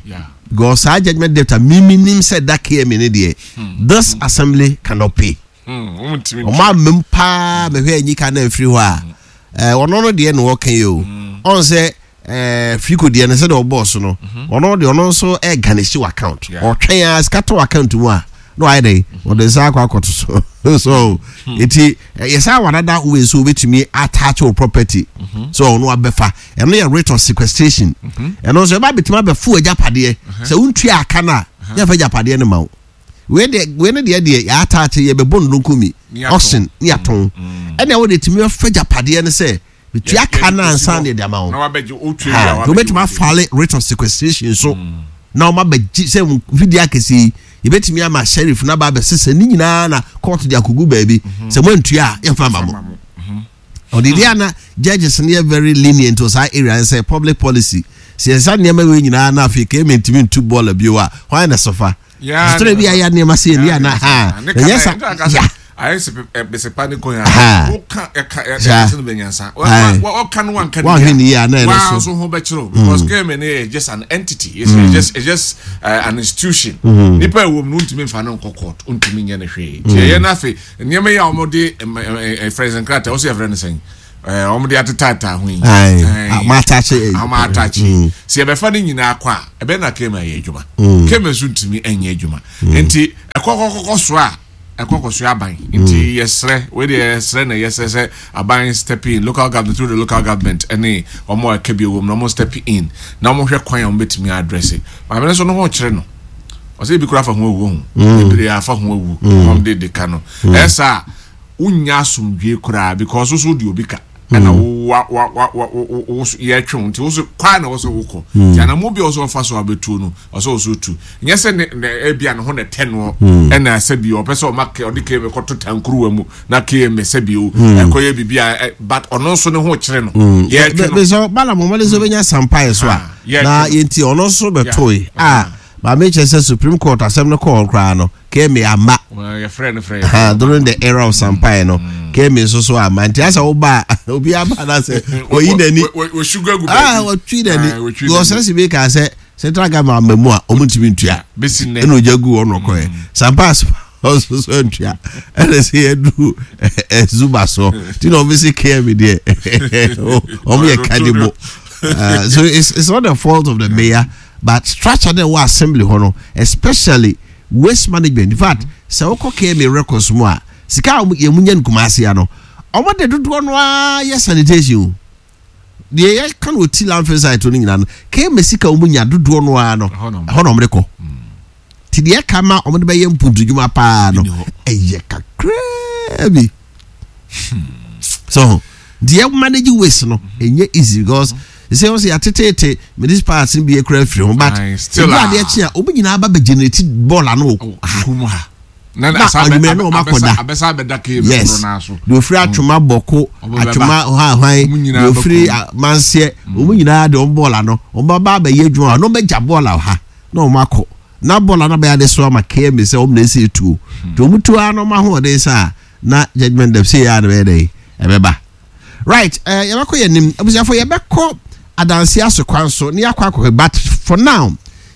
A: Because saa judgement debt a mimi nim sɛ da KMA ne deɛ, this assembly cannot pay. Ɔmo amem paa mehwɛ anyi ka na afiri hɔ a, ɔno no deɛ na ɔka yi o. Ɔn sɛ firiko deɛ no sɛdeɛ ɔbɔɔ so no, ɔno deɛ ɔno nso ɛgarnish wɔ account. Ɔtwɛn a sika tɔ account mu a na wayɛ dɛ ɔde nsa akɔ akɔto so. So eti yɛsan wɔ another way so obetumi attach wo property so ɔno abɛfa. Ɛno yɛ writ of sequestration. Ɛno nso ɛba abɛtumi abɛfo agyapadeɛ sɛ wontua aka no a, yɛmfa agyapadeɛ no ma wo. Wei deɛ, wei no deɛ deɛ yɛataakye, yɛbɛbɔ nnonkomi auction ne yɛatɔn. Ɛnna ɛwɔ deɛ tumi bɛfa agyapadeɛ no sɛ metua ka no ansa na yɛde ama wo. Ha, nti wobɛtumi afale writ of sequestration so na wɔn abɛgye sɛ mfidie akɛseɛ yi, yɛbɛtumi ama sheriff no aba abɛsesa ne nyinaa na court de akɔgu baabi sɛ moantua a yɛmfa ma mo. Ɔde deɛ ana judges no yɛ very lenient wɔ saa area no sɛ public policy sɛ yɛsa nneɛma wei nyinaa na afei kɛmɛ ntumi ntu bɔɔla bio a, hwan na sɔfa sotore bi ayɛ nneɛma sɛ ɛni ana ha ɛnyɛ sa ya.
B: Ayɛ sɛ besepa ne kɔn a woka ɛka ɛka sɛ no bɛnyansa wɔka no wanka
A: ne yie a na ɛno
B: so so ho bɛkyerɛw because kɛmɛ no yɛ just an entity, it's just an institution. Nipa ɛwɔ mu no ntumi nfa no nkɔ court, ntumi nyɛ no hwee. Nti ɛyɛ no afei nneɛma yi a wɔde ɛfrɛ sɛ nkrataa wɔsɛ yɛfrɛ no sɛn, wɔde atetaataa ho yi,
A: wɔn ataakye,
B: wɔn ataakye, sɛ yɛbɛfa no nyinaa kɔ a, ɛbɛn na kɛmɛ ayɛ adwuma. Kɛmɛ nso ntumi nyɛ adwuma. Nti ɛkɔkɔkɔkɔ so a ɛkɔkɔ so aban. Nti yɛsrɛ, wei deɛ yɛsrɛ na yɛsrɛ sɛ aban step in, local government, through the local government ɛne wɔn a ɛka bi wɔ mu na wɔn step in na wɔn hwɛ kwan a wɔn bɛtumi address. Maame no nso no ho kyerɛ no, ɔsɛ ebi kura afa ho awu ho, bebree afa ho awu wɔn de ka no. Ɛyɛ saa, wonya asomdwe koraa because woso de obi ka ɛna wo wa wa wa wa wo wo yɛtwe wo, nti woso kwan na wɔsɛ wokɔ. Nti anamo bi a wɔsɛ wɔfa so abɛtuo no, ɔsɛ wɔsɛ otu. Nyɛ sɛ ne ne ebi a ne ho na ɛtɛ noɔ, ɛna sɛ bi ɔpɛ sɛ ɔma ɔde km kɔto tankuruwa mu na km sɛ bi o ɛkɔyɛ biribi a, but ɔno nso ne ho kyerɛ no, yɛtwe no.
A: Bɛsɛ bala mo mɔde sɛ ɔbɛnya sampaeɛ so a na yɛnti ɔno nso bɛtoe a maame kyerɛ sɛ Supreme Court asɛm no kɔɔ koraa no, km ama during the era of sampaeɛ no, km nso so ama. Nti asɛ woba a, obi aba na sɛ oyi n'ani, wɔtwi n'ani, wɔsɛ si bi kaa sɛ central government ama mu a ɔmo ntumi ntua, ɛna ogya gu wɔn nɔkɔɛ sampa ɔso so ntua, ɛna sɛ yɛdu ɛzuba so ti na ɔmo si km deɛ ɔmo yɛ kadibo. So it's not the fault of the mayor, but structure na ɛwɔ assembly hɔ no, especially waste management. In fact, sɛ wokɔ KMA records mu a, sika a yɛn mu nya no Kumasi ano, ɔmo de dodoɔ no ara yɛ sanitation o. Deɛ yɛka no ɔti landfill site no nyinaa no, KMA sika ɔmo nya dodoɔ no ara no, ɛhɔ na ɔmo de kɔ. Nti deɛ ɛka ma ɔmo de bɛyɛ mpuntudwuma paa no ɛyɛ kakraa bi. So deɛ manage waste no ɛnyɛ easy because sɛ wɔsɛ yɛatetete municipal no bi akura afiri ho, but ebi adeɛ kye a obi nyinaa ba bɛ generate bɔɔl ano wɔ ha
B: na
A: anwummerɛ na wɔn akɔda. Yes, deɛ ofiri Atwoma Bɔko, Atwoma hwanhwan, deɛ ofiri Manseɛ, wɔn nyinaa de wɔn bɔɔl ano, wɔn ba ba abɛyɛ adwuma hɔ na wɔn bɛgya bɔɔl wɔ ha na wɔn akɔ na bɔɔl ano bɛyɛ ade so ama KMA sɛ wɔn na esi etuo. Nti wɔn tuo ara na wɔn ahoɔden sɛ a na judgement dɛm sɛ yɛ a na bɛyɛ dɛ ɛbɛba. Right, yɛbɛkɔ yɛn anim, abusuafo, yɛbɛkɔ adansi aso kwan so ne yɛakɔ akɔhwɛ, but for now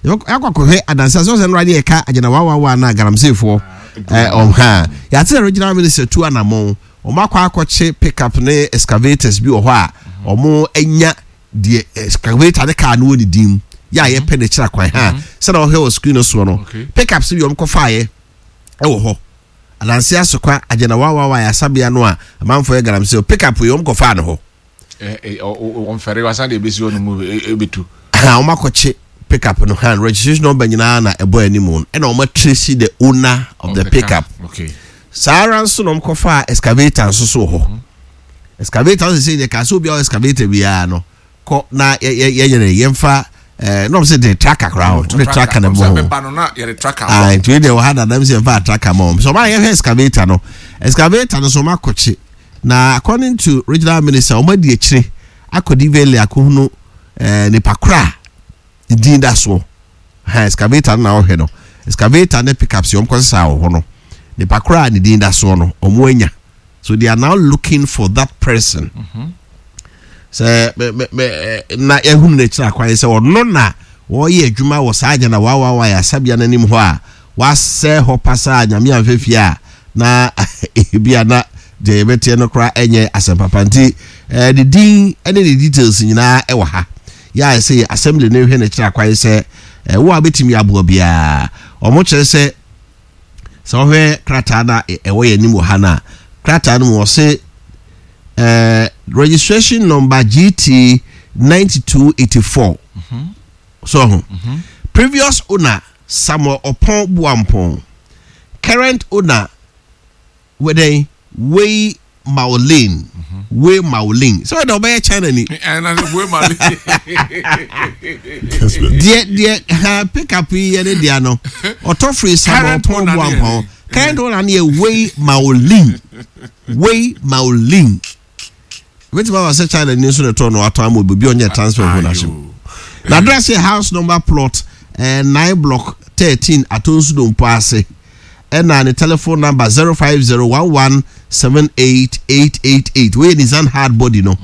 A: yɛakɔ akɔhwɛ adansi aso sɛ nnora ne yɛka agyina wawawa na galamseyfoɔ ɔha yɛate sɛ regional minister tu anamɔn, wɔn akɔ akɔkye pickup ne excavators bi wɔ hɔ a wɔn anya deɛ excavator ne car no wɔ ne din mu yɛ a yɛpɛ ne kyerɛ kwan ha sɛdeɛ wɔhwɛ wɔ screen no soɔ no, pickups bi wɔn kɔfaeɛ ɛwɔ hɔ Adanse Asokwa Agyana Wawawa Ayasabea no a amanfoɔ yɛ galamsey pick up yi wɔn kɔfaa no hɔ.
B: Wɔn fɛre wasan de ebesi hɔ no mu ebetu.
A: Ha wɔn akɔkye pick up no han registration number nyinaa na ɛbɔ anim no, ɛna wɔn atrace the owner of the pick up. Saa ara nso na wɔn kɔfaa excavator nso so wɔ hɔ. Excavator nso sɛ yɛ kaa sɛ obi a ɔwɔ excavator biara no kɔ na yɛ yɛ yɛ yɛrɛ yɛmfa na ɔmo sɛ de tracker koraa hɔ de tracker na bɔ ho. Ah, nti wei deɛ wɔ ha dada mi sɛ yɛmfa tracker ma wɔn so ɔmo ayɛ hwɛ excavator no, excavator no so ɔmo akɔkye na according to regional minister, ɔmo adi akyire akɔ DVLA akɔhunu nipa kora a din da soɔ ha excavator no na ɔhwɛ no, excavator ne pickups wɔn kɔ sesa wɔ hɔ no, nipa kora a ne din da soɔ no ɔmo anya. So they are now looking for that person. Sɛ mɛ mɛ mɛ na yɛhunu n'akyiri akwan sɛ ɔno na. wɔreyɛ adwuma wɔ saa agya na wawawa ayasabea no anim hɔ a wasɛe hɔ pasaa Nyame amfa fie a na ebia na deɛ yɛbɛteɛ no koraa ɛnyɛ asɛm papa nti eh, ne din ne ne details nyinaa ɛwɔ ha yɛ a ɛsɛ yɛ assembly no hwɛ no kyerɛ akwan sɛ eh, wo a wobɛtumi aboa biara wɔn kyerɛ sɛ sɛ wɔhwɛ krataa no a ɛwɔ yɛn anim wɔ ha no a krataa no mu wɔse eh, registration number GT 9284 mm -hmm. so ho mm -hmm. previous owner Samuel Opon Boampong current owner wɛdɛn Wei Maolin Wei Maolin sɛ ɔdɛ ɔbɛyɛ China ni deɛ deɛ ha pick up yi yɛ ne deɛ no ɔtɔ firi Samuel Opon Boampong current owner no yɛ Wei Maolin Wei Maolin Ebetumi aba sɛ China ni nso na ɛtɔɔ no atɔn ama obi obi ɔnyɛ transfer of ownership. Na address yɛ house number plot eh, 9 block 13 Atonsu Dompo ase. Ɛna ne telephone number 0501178888. Wei yɛ Nissan hard body no.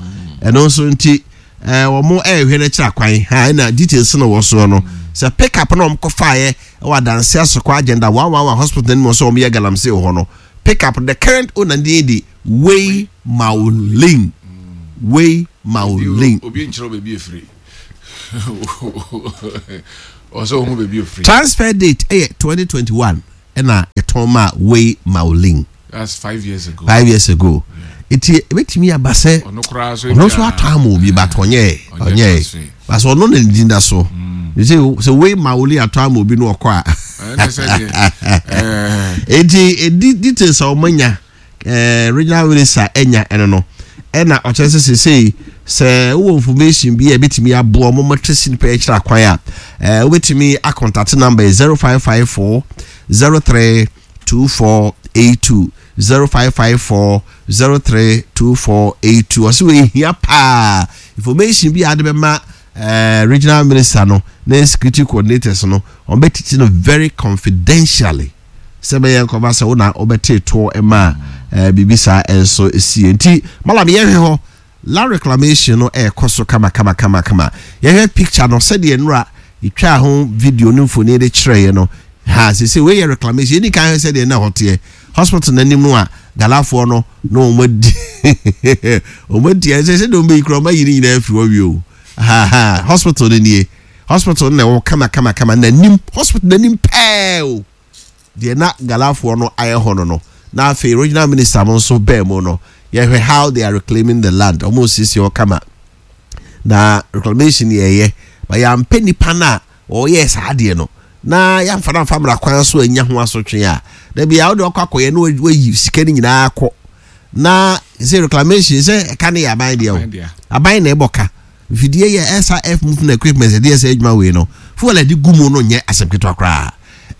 A: Ɛno nso nti eh, wɔn ɛrehwɛ no akyiri akwan ha ɛna details no wɔ soɔ no. Sɛ pick up na wɔn kɔfaeɛ ɛwɔ adanse asokɔ agenda 111 hospital no mu sɛ wɔn yɛ galamsey wɔ hɔ no. Pick up the current owner din de Wei Maolin. Wei Maolin.
B: Obi nkyerɛ baabi efiri. Ɔsɛ ohun baabi efiri.
A: Transfer date ɛyɛ 2021 ɛna yɛtɔn maa Wei Maolin.
B: That's 5 years ago.
A: 5 years ago. Eti ebetumi aba sɛ
B: ɔno koraa so
A: ɔno nso atɔ ama obi but ɔnyɛ ɔnyɛ but ɔno na ne din da so. Sɛ sɛ Wei Maolin atɔ ama obi no ɔkɔ a.
B: Ɛna sɛ deɛ ɛɛ.
A: Eti edi details a wɔn anya regional minister anya ɛno no ɛna ɔkyerɛ sɛ sesei sɛ wowɔ information bi a ɛbɛtumi aboa ɔmo matrasi nipa akyerɛ akwan a wobɛtumi acontact number yɛ 0554 03 2482 0554 03 2482 ɔsɛ wɔhia paa information bi a ade bɛma regional minister no ne security coordinators no wɔn bɛtiti no very confidentially sɛ bɛyɛ nkɔba sɛ wo na wobɛte toɔ ma biribi saa nso sie. Nti malam yɛhwɛ hɔ land reclamation no ɛrekɔ so kama kama kama kama. Yɛhwɛ picture no sɛdeɛ nnora yɛtwaa ho video ne mfoni de kyerɛeɛ no ha sese wei yɛ reclamation. Yɛni kan hwɛ sɛdeɛ na ɛhɔ teɛ hospital n'anim no a galafoɔ no na wɔn adi wɔn adi ɛsɛ sɛ deɛ wɔn bɛyi kura wɔn ayi ne nyinaa afiri hɔ wie o ha ha hospital no nie. Hospital no na ɛwɔ kama kama kama n'anim hospital n'anim pɛɛ o deɛ na galafoɔ no ayɛ hɔ no no na afei regional minister mo nso bɛɛ mu no yɛhwɛ how they are reclaiming the land. Wɔn siesie hɔ kama na reclamation yɛ yɛ ba yɛampɛ nipa no a ɔyɛ saa adeɛ no na yɛamfa no amfa mmara kwan so anya ho asotwe a dabi a wode ɔkɔ akɔyɛ na wayi sika no nyinaa kɔ na sɛ reclamation sɛ ɛka no yɛ aban deɛ o aban na ɛbɔ ka. Mfidie yɛ SRF movement equipment ɛde yɛ sɛ adwuma wei no fuel a ɛde gu mu no nyɛ asɛm ketewa koraa.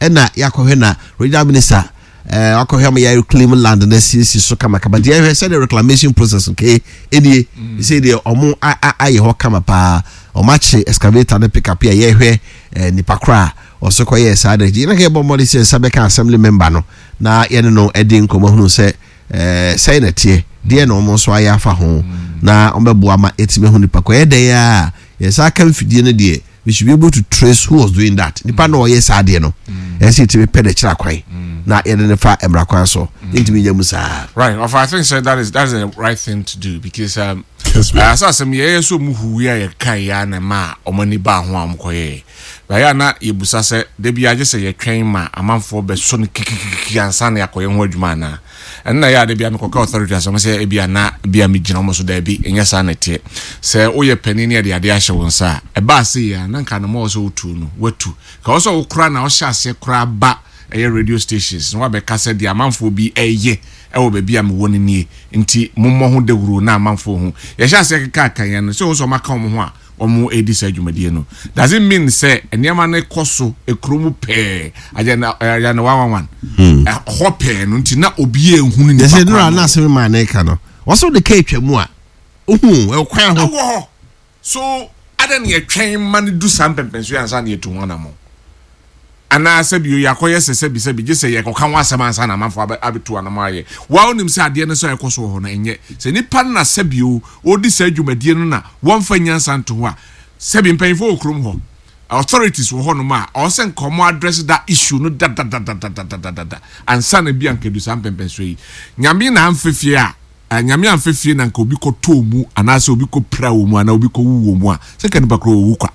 A: Ɛna yɛakɔhwɛ na regional minister ɛɛ eh, wakɔhwɛ ama yɛ reclaim land na asiesie so kamakama. Deɛ ɛhwɛ sɛdeɛ reclamation process nke ɛnie mm. sɛ deɛ ɔmo ayɛ hɔ kama paa. Ɔmo akye excavator ne pick up a yɛhwɛ ɛɛ nipa koraa ɔso kɔyɛ saa de. Yɛn na yɛbɔ mmɔden sɛ nsa bɛka assembly member no na yɛne no ɛde nkɔmɔ hunu sɛ Ɛɛ, sɛn na ɛteɛ? Deɛn na wɔn nso ayɛ afa ho na wɔbɛboa ma yɛatumi ahu nipa ko? Ɛyɛ dɛn ara a, yɛn nsa aka mfidie no deɛ, we should be able to trace who was doing that. Nipa na ɔyɛ saa adeɛ no, ɛsɛ sɛ yɛtumi pɛ n'akyiri akwan na yɛde no fa mmara kwan so. Yɛntumi nyɛ mu saa.
B: Right, of I think so that is that's the right thing to do because as asɛm yɛyɛ so mu huwi a yɛka yɛ a na ma wɔn ani baa ho a wɔn kɔyɛɛ. Ɛyɛ a na yɛbisa sɛ, da biara gye sɛ yɛtwɛn ma amanfoɔ bɛsɔ no kikikiki ansa na yɛakɔyɛ ho adwuma anaa? Ɛno na ɛyɛ a da biara mekɔka authority asɛm sɛ ebia na ebia megyina wɔn so. Daabi, ɛnyɛ saa na ɛteɛ. Sɛ woyɛ panin ne yɛde adeɛ ahyɛ wo nsa a, ɛbaa sei a, na nka anamɔ a ɛwɔ sɛ wotu no, woatu. Nka ɛwɔ sɛ wo koraa na wohyɛ aseɛ koraa ba ɛyɛ radio stations na woabɛka sɛ deɛ amanfoɔ bi reyɛ wɔ baabi a mewɔ no nie, nti mommɔ ho dawuro na amanfoɔ hu. Yɛhyɛ aseɛ keka kan no, sɛ wohu sɛ wɔaka wɔn ho a, wɔredi saa dwumadie no does it mean sɛ nneɛma no kɔ so ekuro mu pɛɛ agenda agenda 111 ɛhɔ pɛɛ no nti na obi ehunu nipa
A: kwan. Yɛsɛ nura na asɛm maa ne ka no wɔsɛ wode ka atwa mu a ohu ɛkwan ho.
B: Ɛwɔ hɔ so adan na yɛtwɛn ma no du saa mpɛmpɛnso yɛ ansa na yɛtu ho anamɔ anaa sɛbi o yɛakɔyɛ sɛ sɛbi sɛbi gye sɛ yɛkɔka ho asɛm ansa na amanfoɔ abɛ abɛtu anamɔ ayɛ. Wa wonim sɛ adeɛ no sɛ ɛkɔ so wɔ hɔ no ɛnyɛ sɛ nipa no na sɛbi o ɔredi saa dwumadie no na wɔmfa nyansa nto ho a sɛbi mpanyinfoɔ wɔ kurom hɔ. Authorities wɔ hɔnom a ɔwɔ sɛ nka ɔmo address that issue no dadadadadadadada ansa na bi a nka edu saa mpɛmpɛnsoɔ yi. Nyame na amfa fie a, eh, Nyame amfa fie na nka obi kɔ tɔɔ mu anaasɛ obi kɔ pira wɔ mu anaa obi kɔ wu wɔ mu a, sɛ nka nipa korɔ owu kwa.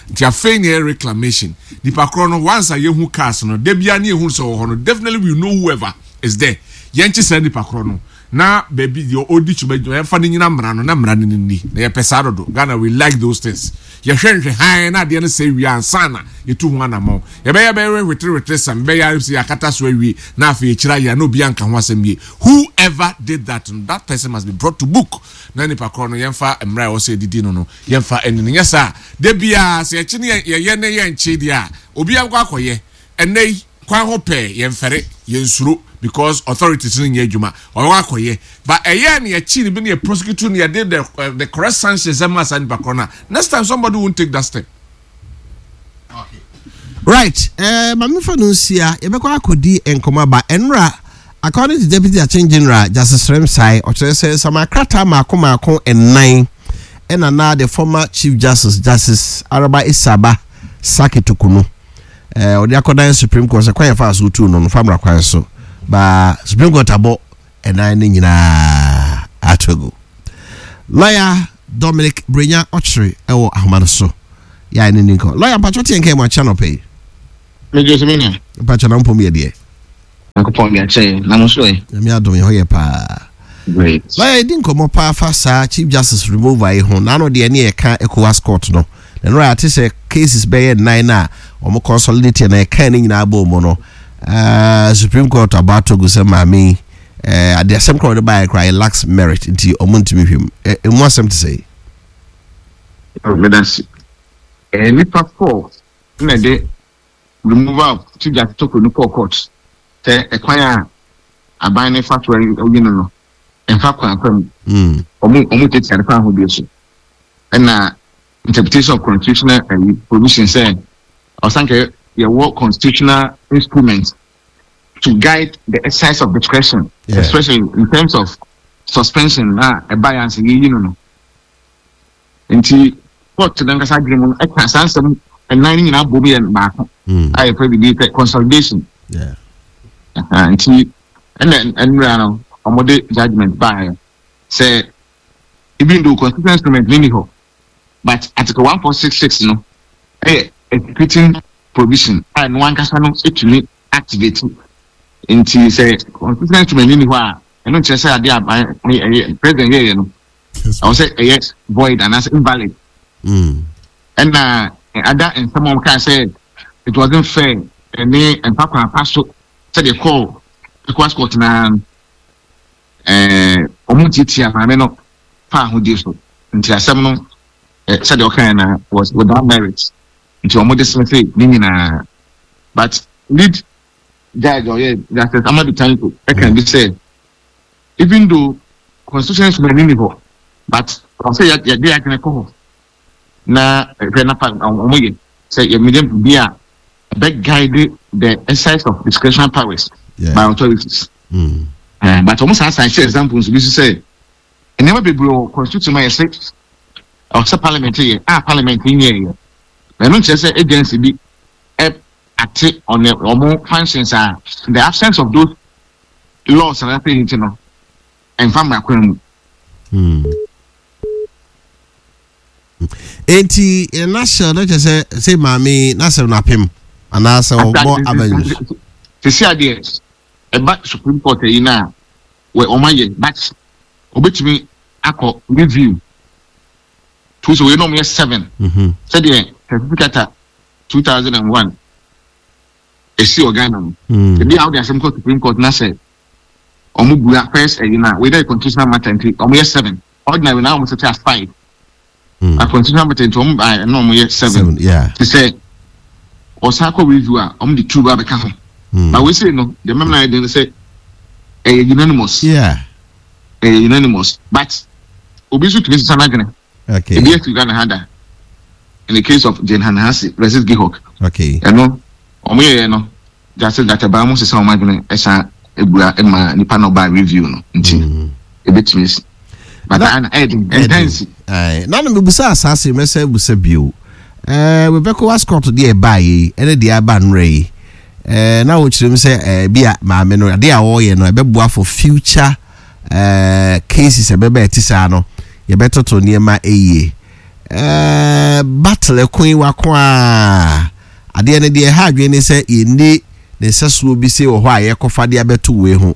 B: Nti afei na ɛyɛ reclamation. Nipa korɔ no once a yɛhu cars no, da biara ne yɛhu sɛ ɔwɔ hɔ no, definitely we know whoever is there. Yɛnkye saa nipa korɔ no na baabi deɛ ɔdi twuma adwuma yɛmfa no nyina mmara no na mmara no nni na yɛpɛ saa dodo. Ghana we like those things. Yɛhwɛ nhwɛ hann na adeɛ no sɛ wie ansa na yɛtu ho anammɔn. Yɛbɛyɛ bɛyɛ hwetere hwetere sɛm bɛyɛ ara sɛ yɛakata so awie na afei yɛkyerɛ ayɛ na obi anka ho asɛm yie. Whoever did that no, that person must be brought to book na nipa korɔ no yɛmfa mmara a ɛwɔ sɛ yɛde di no no yɛmfa ani no. Nyɛ saa a, da biara sɛ yɛkye ne yɛyɛ ne yɛnkye deɛ a, obiara bɛkɔ akɔyɛ. Ɛnnɛ yi, kwan ho pɛɛ, yɛnfɛre, yɛnsuro because authorities no nyɛ adwuma. Ɔbɛkɔ akɔyɛ. But ɛyɛ a na yɛkye no bi na yɛ prosecute no, yɛde the, the correct sanctions ɛma saa nipa korɔ no a, next time somebody won't take that step.
A: Right, eh, ma memfa no nsia, yɛbɛkɔ akɔdi nkɔmmɔ aba. Ɛnora, according to Deputy Attorney General Justice Srem-Sai, ɔkyerɛ sɛ nsɛm akrataa mmaako mmaako nnan ɛna na the former Chief Justice, Justice Araba Isaba Saki Tokunu, eh, ɔde akɔdan Supreme Court sɛ kwan yɛfa so tu no no fa mmara kwan so. Ba Supreme Court abɔ ɛnan no nyinaa ato agu. Lawyer Dominic Brenya Ɔkyere ɛwɔ ahoma no so. Yɛ a ne ni nkɔ. Lawyer mpakyɛ teɛ nka mu akyɛ anɔpɛ yi.
D: Megye so me nua.
A: Mpakyɛ na mpom yɛ deɛ.
D: Nyankopɔn de akyɛ yɛn na mo nso ɛ.
A: Nyame adom yɛ hɔ yɛ paa.
D: Great.
A: Lawyer yɛdi nkɔmmɔ paa fa saa Chief Justice removal yi ho. N'ano deɛ ne yɛka ECOWAS court no. Na ɛno a yɛate sɛ cases bɛyɛ nnan no a wɔn consolidate na yɛka ne nyinaa bɔɔ mu no. Uh, Supreme Court abɔ ato gu sɛ maame yi uh, ade asɛm koraa wɔde baeɛ koraa yɛ lacks merit nti wɔn ntumi hwɛ mu. Emu asɛm te sɛ yi.
D: Meda ase. Nnipa four na ɛde removal of Chief Justice Tokuro no kɔɔ court sɛ ɛkwan a aban no fa so ayi no no ɛmfa kwan pa mu. Wɔn wɔn tiatia no kwan ahodoɔ so. Ɛna interpretation of constitutional ɛyi provision sɛ ɔsan kɛ yɛwɔ constitutional instrument to guide the exercise of discretion, especially in terms of suspension na ɛba yɛn ase yɛyi no no. Nti court no ankasa adwene mu no ɛka saa nsɛm nnan no nyinaa bom yɛ baako a yɛfrɛ biribi sɛ consolidation. Nti ɛna nnura no wɔde judgement baeɛ sɛ even though constitutional instrument no nni hɔ but article 1466 no ɛyɛ executing provision a ɛno ankasa no ɛtumi activate. Nti sɛ constitutional instrument no nni hɔ a ɛno nkyerɛ sɛ adeɛ a president yɛyɛ no ɛwɔ sɛ ɛyɛ void anaasɛ invalid. Ɛna ada nsɛm a wɔkaa sɛ it wasn't fair ɛne mfa kwan pa so sɛdeɛ kɔɔ ECOWAS court naa no, ɛɛ wɔn ntiatia maame no fa ahodie so. Nti asɛm no sɛdeɛ ɔkaeɛ na was without merit, nti wɔn dismiss ne nyinaa. But lead judge ɔyɛ Justice Amadu Tanko ɛka bi sɛ even though constitution instrument ni hɔ, but ɔsɛ yɛde adwene kɔ hɔ na hwɛ na fa wɔn yɛ sɛ yɛmɛgye bi a ɛbɛ guide the exercise of discretionary powers by authorities. But wɔn san san hyɛ example nso bi so sɛ nneɛma bebree wɔ constitution mu a yɛsɛ ɔsɛ parliament yɛ a parliament nyɛ yɛ, na ɛno nkyerɛ sɛ agency bi ɛ ate on wɔn functions a in the absence of those laws and afei nti no ɛnfa mmara kwan mu.
A: Enti in a nutshell na kyerɛ sɛ sɛ maame n'asɛm no apem anaasɛ ɔbɔ avenues.
D: Sisi adeɛ ɛba Supreme Court ayi no a wɔ wɔn ayɛ, but obetumi akɔ review to sɛ wei na wɔn yɛ seven sɛdeɛ certificate 2001 esi wɔ Ghana no. Ebi a wɔde asɛm kɔ Supreme Court na sɛ wɔn bua first ɛyi na wei na yɛ constitutional matter nti wɔn yɛ seven. Ordinary na wɔn sete as five. Na constitutional matter nti wɔn ba ɛna wɔn yɛ seven. Te sɛ ɔsan kɔ review a wɔn de two ba bɛka ho. Na wei sei no deɛ mɛmɛ na ayɛ den sɛ ɛyɛ unanimous. Ɛyɛ unanimous, but obi nso tumi sisa n'adwene. Ebi asi Ghana ha da in the case of Jane Hanahasi versus Gihok. Ɛno wɔn yɛyɛ no Justice Databaa mu sisa wɔn adwene ɛsan ebua ma nipa na ɔbaa review no nti ebetumi esi. But ana ɛyɛ den ɛntansi.
A: Na na mebusa asaase mɛsɛ busa bio. With ECOWAS court deɛ ɛbaa yi ɛne deɛ aba nnora yi, na wɔkyerɛ mu sɛ bi a maame no adeɛ a wɔreyɛ no ɛbɛboa for future cases ɛbɛba ɛte saa no, yɛbɛtoto nneɛma ɛyie. Battle ɛko yi wako a adeɛ no deɛ ɛha adwene ne sɛ yɛnni ne nsɛsoɔ bi se wɔ hɔ a yɛkɔfa de abɛto wei ho.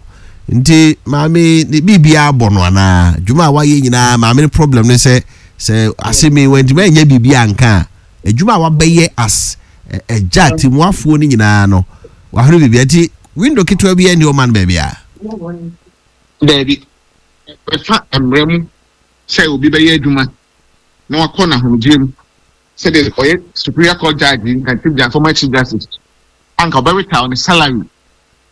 A: Nti maame ne biribiara bɔ no anaa dwuma a wayɛ nyinaa, maame no problem ne sɛ asɛm yi wantumi anyɛ biribi anka a, adwuma a wabɛyɛ as ɛgya timuafoɔ no nyinaa no, wahwere biribi. Nti window ketewa bi ɛni ɔma no baabi a.
D: Daabi, ɛfa mmerɛ mu sɛ obi bɛyɛ adwuma na wakɔ n'ahomegye mu, sɛdeɛ ɔyɛ Superior Court judge nka chief justice, former chief justice, anka ɔbɛretire ne salary,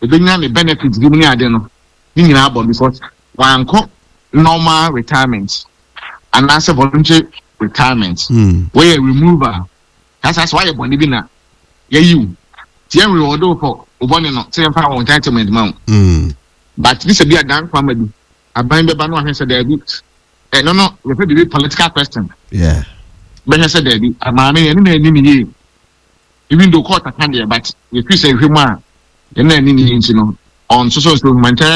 D: ebenya ne benefits bi mu ne ade no ne nyinaa bɔ, because wankɔ normal retirement anaasɛ voluntary retirement. Wɔyɛ removal kasa sɛ wayɛ bɔne bi na yɛyi wo tí yɛn reward wo for wo bɔne no sɛ yɛmfa wɔn entitlement ma wo. But bi sɛ bi adan kwama bi aban bɛba no ahwɛ sɛ daabi, ɛno no yɛfɛ biribi political question. Bɛhwɛ sɛ daabi, maame yɛne na anim yie, even though court aka deɛ, but yɛfiri sɛ ehwɛ mu a yɛne na anim yie nti no ɔnsoso nso humanitarian.